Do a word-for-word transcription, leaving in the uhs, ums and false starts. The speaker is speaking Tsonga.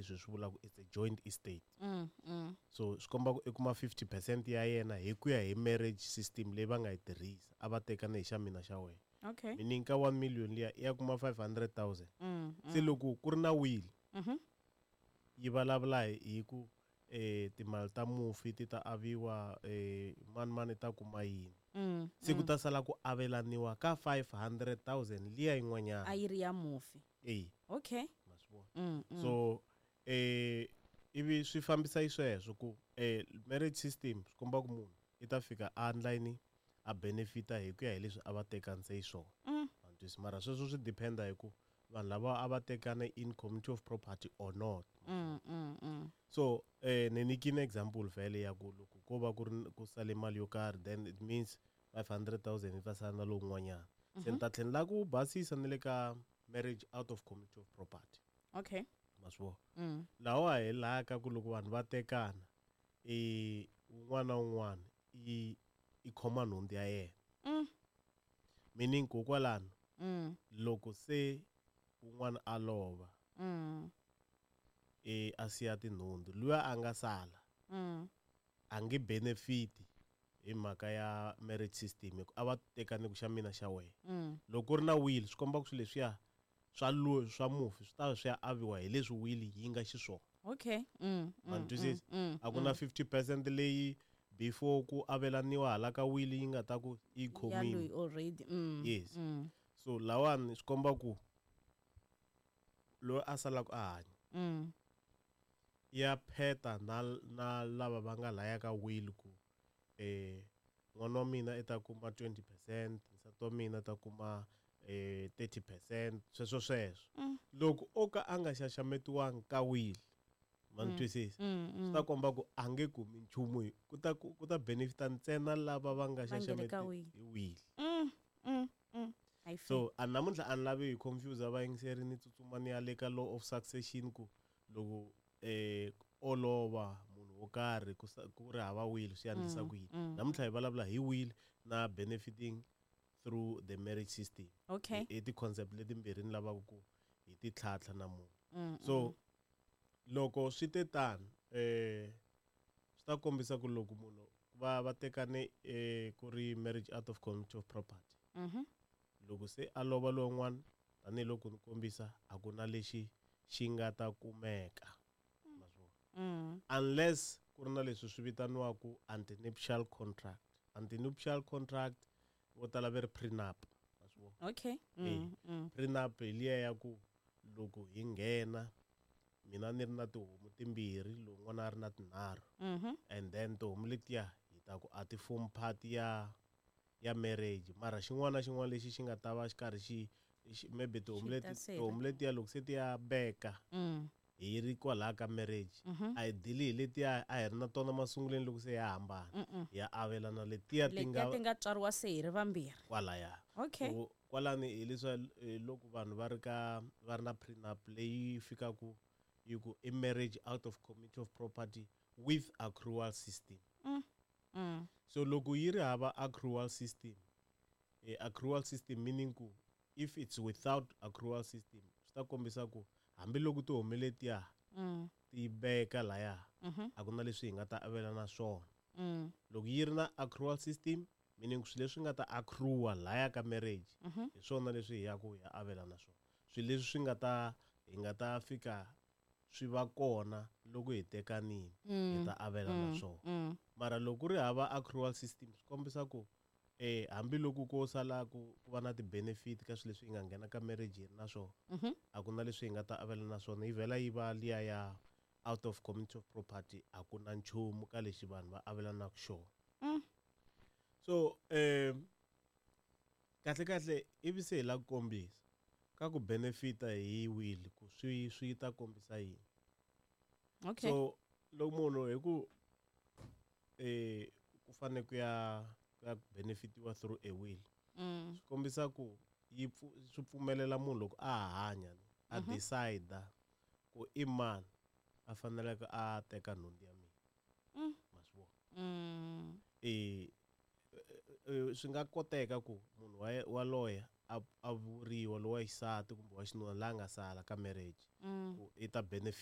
leswi swi vulaka it's a joint estate. Mm, mm. So swi komba ku i kuma fifty percent ya yena hi ku ya hi marriage system leyi va nga yi tirhisa, a va tekana hi xa mina xa wena. Okay. Meaning ka one million liya i ya kuma five hundred thousand. Mm, Se loko ku ri na will, Mhm. yi vulavula hi hi ku eh timali ta mufi ti ta aviwa, eh mani mani ta kuma yini. Mm, Se ku ta sala ku avelaniwa ka five hundred thousand liya yin'wanyana. A yi ri ya mufi. Eh. Okay. Ma swi vona. Mm, mm. So eh ivi swi fambisa xisweswo ku eh marriage system swi komba ku munhu i ta fika a endla a benefita hi ku ya hi leswi a va tekanise xiswona. Mm. Ma twisisa? Mara sweswo swi dependa hi ku vanhu lava a va tekana in community of property or not. Mm, mm, mm. So eh ni nyikile example vhele ya ku loko ko va ku ri ku sale mali yo karhi, then it means five hundred thousand yi ta sala na lowun'wanyana. Se ni ta tlhela ni lava ku basisa ni le ka marriage out of community of property. Okay. Ma swi vona? Mm. Lawa hi laha ka ku loko vanhu va tekana, eh un'wana na un'wana i i khoma nhundzu ya yena. Mm. Meaning kokwalano, Mm. loko se un'wana a lova, Mm. eh a siya tinhundzu, luya a nga sala, Mm. a nge benefit hi mhaka ya marriage system, hi ku a va tekane ku xa mina xa wena. Mm. Loko ku ri na will, swi komba ku swilo leswiya swa lo swa mufi swi ta swi ya aviwa hi leswi will yi nga xiswona. Okay. Mm, Ma mm, twisisa? mm, mm, A ku na fifty percent leyi before ku avelaniwa hala ka will yi nga ta ku yi Ya khomile. loyi already. Mm. Yes. Mm. So lawani swi komba ku loyi a salaka a hanya, Mm. ya pheta na, na lava va nga laya ka will ku eh n'wana wa mina i ta kuma twenty percent, nsati wa mina ta kuma eh thirty percent, sweswo sweswo. Mm. Loko o ka a nga xaxametiwangi ka will, ma ni twisisa? Mm, mm. Swi ta komba ku a nge kumi nchumu, hi ku ta ku ta benefita ntsena lava va nga Va nge le ka xaxameti will. hi will. Mm, mm, mm. I feel. So a namuntlha a ni lavi hi confuse vayingiseri, ni tsutsuma ni ya le ka law of succession ku loko eh olova munhu wo karhi ku sa-, ku ri hava will swi endlisa Mm, ku yini. mm. Namuntlha hi vulavula hi will na benefiting through the marriage system. Okay. I ti-concept letimbirhi ni lavaka ku hi ti tlhantlha namuntlha. Mm, So mm. loko swi te tano, eh swi ta kombisa ku loko munhu va, va tekane, eh, ku ri marriage out of community of property. Mhm. Loko se a lova lowun'wana, tanihiloko ni kombisa, a ku na lexi xi nga ta kumeka. Ma swi vona? Mm. Unless ku ri na leswi swi vitaniwaka antenuptial contract. Antenuptial contract vo tala va ri prenup. Ma swi vona? Okay. Eh, Mm, mm. Prenup hi liya ya ku loko hi nghena mina ni ri na tihomu timbirhi, lowun'wana a ri na tinharhu. Mhm. And then tihomu letiya hi ta ku a ti form part ya, ya marriage, mara xin'wana na xin'wana lexi xi nga ta va xi karhi xi, xi, maybe tihomu Xi leti, ta sela. tihomu letiya loko se ti ya beka, Mm. hi ri kwalaya ka marriage, Mhm. a hi dili hi letiya a hi ri na tona masunguleni loko se ya hambana. Mm-mm. Hi ya avelana letiya ti Letiya nga ti nga tswariwa se hi ri vambirhi. Kwalaya. Okay. So, kwalani hi leswi, eh, loko vanhu va ri ka, va ri na prenup leyi fikaku yi ku i marriage out of community of property with accrual system. Mm. Mm. So loko yi ri hava accrual system, eh, accrual system meaning ku if it's without accrual system, swi ta kombisa ku hambiloko tihomu letiya Mm. ti veka laya, Mhm. a ku na leswi hi nga ta avelana swona. Mm. Loko yi ri na accrual system, meaning swilo leswi nga ta accrua laya ka marriage, Mhm. hi swona leswi hi yaku hi ya avelana swona. Swilo leswi swi nga ta, hi nga ta fika swi va kona loko hi tekanile, Mm. hi ta avelana Mm. swona. Mm. Mara loko ku ri hava accrual system, swi kombisa ku eh hambiloko ko sala ku, ku va na ti-benefit ka swilo leswi hi nga nghena ka marriage hi ri na swona, Mhm. a ku na leswi hi nga ta avelana swona, yi vhela yi va liya ya out of community of property, a ku na nchumu ka lexi vanhu va avelanaka xona. Mm. So, eh, kahle kahle ivi se hi lava ku kombisa ka ku benefita hi will ku swi, swi ta kombisa yini. Okay. So loko munhu hi ku, eh, ku fanele ku ya, ku ya benefitiwa through a will, Mm. swi kombisa ku yi pfu-, swi pfumelela munhu loko a ha hanya, a Mhm. decide ku i mani a faneleke a teka nhundzu ya mina. Mm. Ma swi vona? Mm. Eh, eh, swi nga koteka ku munhu wa, wa loya a, a vuriwa lowa xisati kumbe wa xinuna la nga sala ka marriage, Mm. ku i ta benefit.